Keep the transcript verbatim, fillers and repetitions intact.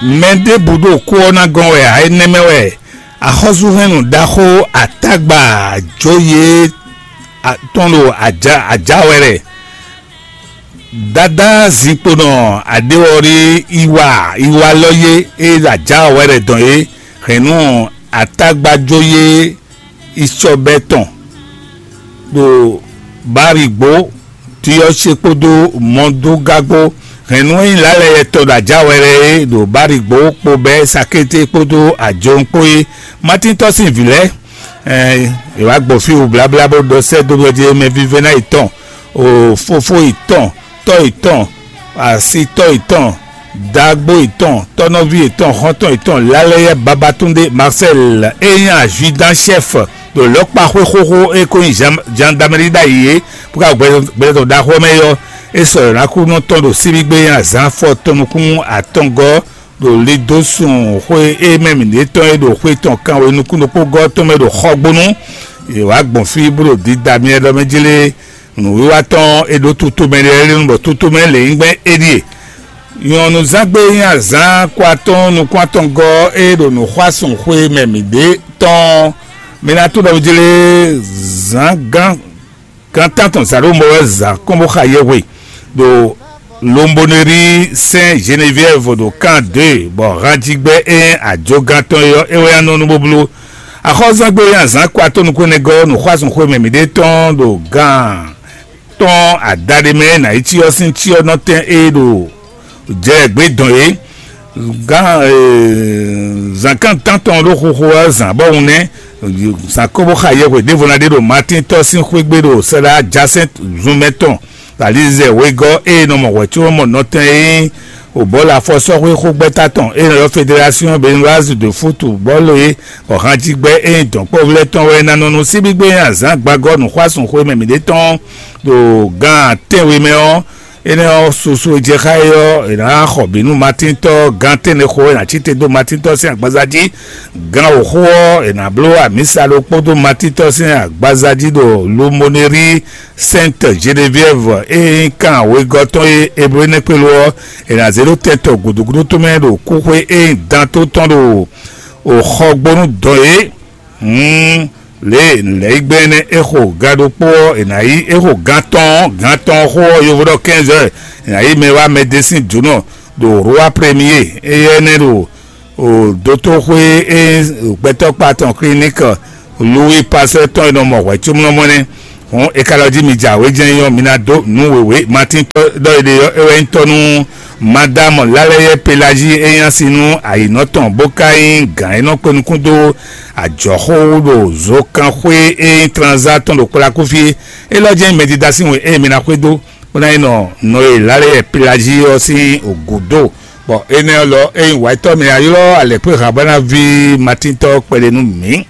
Mɛ ɖěbǔ ɖo kú ɔ́ ná gɔ́n wɛ ǎ, énɛ́ mɛ wɛ axɔ́súhɛ́nnu ɖaxó Atágba Jóyé tɔn ɖo ajǎ wɛ lɛ. Dadá zinkponɔ aɖéwɔrí iwa iwa lɔ yé e ɖo ajǎ wɛ lɛ dɔn é hɛn nú Atágba Jóyé Isɔbɛ tɔn ɖo Barigbó, Tiyɔ́se kpódó Mɔdógágbó. Hɛ̌nnu e nyí Lǎlɛyɛ tɔn ɖo ajǎwɛlɛ é ɖo Barigbó kpo bɛ́ Sakété kpódó Ajɔn kpó é. Matíntɔ́ sín vǐ lɛ́ɛ, ɛ, è wǎ gbɔ fí wǔbláblá bó ɖɔ sɛ́ dó ɖɔ jí mɛ vívɛ́ná yětɔn, o fofó yětɔn, tɔ́ yětɔn, asitɔ́ yětɔn, dǎgbó yětɔn, tɔ́nɔví yětɔn, xɔ́ntɔn yětɔn, Lálɛyɛ Babatúndé Marcel e nyí azwidán chef ɖo lɔ̌kpaxwé xóxó e ko nyí gendarmerie ɖ'ayǐ é, bó ka gbɛtɔ́ ɖaxó ɔ́ mɛ é ɔ́, é sɔ́ yɔ̌nákúnɔ tɔn ɖo síbígbe e nyí azǎn afɔ tɔn nukún atɔngɔ́ ɖo Lidósun xwé e mɛ mǐɖée tɔn e ɖo xwé tɔn kanwe nukún ɖokpó gɔ́ tɔn mɛ ɖo Xɔgbónu. È wǎ gbɔn fí bó ɖo dida myɛ ɖɔ mɛ jlé. Nǔwiwa tɔn e ɖó tutomɛ lɛ́ɛ lé nu bɔ tutomɛ lě nyí gbɛn é ɖíe. Nyɔ̌nuzángbe e nyí azǎn ko atɔn nukún atɔngɔ́ e ɖo nǔxwásún xwé mɛ mǐɖée tɔn. Mi ná tó ɖɔ jlé zǎn gán gán tántɔn zǎn ɖó mɔ wɛ zǎn kɔn bó xa yɛhwe ɖo Lombonerie Saint Geneviève ɖo kan deux, bɔ hanjigbɛ e nyí ajogán tɔn é ɔ́, é wɛ nyí anɔ́ nú bóbló. Axɔ́zángbé e nyí azǎn ko atɔn nukún énɛ́ gɔ́ nǔxwásún xwé mɛ mǐɖée tɔn ɖo gán tɔn adaɖé mɛ ná yi cyɔ sín cyɔ nɔ tɛn e ɖo jɛ gbě dɔn é. Gán zǎnkán tántɔn ɖó xoxo ɔ́ zǎn bɔ hun nɛ́ zǎn kó bó xa yɛhwe ɖěvo ná ɖe ɖo Matín tɔ́ sín xwé gbe ɖo Sɛlá jásɛn zunmɛ tɔn Alizɛ wegɔ́ e nɔ mɔ hwɛ̌cómɔ nɔtɛn e nyí Obɔ́la afɔsɔ́xwé xógbɛ́ta tɔn e nɔ ylɔ́ Fédération Béninoise de Football é, bɔ hanjigbɛ e nyí dɔ̌nkpɔ́vlɛ́ tɔn wɛ ná nɔ nú síbígbé nyi azǎn gbagɔ́ nǔxwásún xwé mɛ mǐɖée tɔn ɖo gán tɛ́nwe mɛ ɔ́. Énɛ́ ɔ́, susu e jɛ xá é ɔ́, è nǎ xɔ bǐ nú Matíntɔ́ gán tɛ́nnɛxó e nǎ cí te dó Matíntɔ́ sín agbaza jí. Gán wǒxo ɔ́, è nǎ bló amǐsa ɖokpó dó Matíntɔ́ sín agbaza jí ɖo Lumonéri Sainte Geneviève e nyí kan wegɔ́ tɔn e Eblénɛ́kpélu ɔ́, è nǎ zé ɖó tɛn tɔn gǔdúgúdú tɔn mɛ ɖo kúxwé e nyí dan tó tɔn ɖo xɔgbónú dɔn é. Hǔn lě e nǔlɛ́yígbɛ́ énɛ́ é xo ga ɖokpó ɔ́, è nǎ yí é xo gán tɔn, gán tɔn xó ɔ́, yovo ɖɔ quinze heures, è nǎ yí mɛ wá mɛ dé sín jǒnɔ ɖo Roi Premier éyɛ́ nɛ́ ɖo o dotóxwé e gbɛtɔ́kpa tɔn clinique Louis Pasteur tɔn e nɔ mɔ hwɛ̌cómlɔ́mɔ nɛ́. Hǔn è ka ɖɔ jí mi jɛ awě jɛ́n nyí ɔ́, mi ná dó nǔ wěwé. Matín tɔ́ ɖɔ è ɖe ɔ́, é wɛ nyí tɔ́ nú Madame Lálɛ́yɛ Pelázi e nyí asi nú ayǐnɔ tɔn, bó ka nyí gǎn e nɔ kpe nukún dó ajɔ̌xó wú ɖo zokanxwé e nyí Tranzá tɔn ɖo Kplakúfí é. Élɔ́ jɛ́n nyí mɛdídá sín we e mi ná xwedó, bó ná yi nɔ nɔ e Lálɛ́yɛ Pelázi ɔ́ sín gǔdo. Bɔ énɛ́ ɔ́ lɔ, ényí wǎyítɔ́ mi ná ylɔ́ alɛ̌kpéhan bó ná ví Matín tɔ́ kpɛɖé nú mǐ.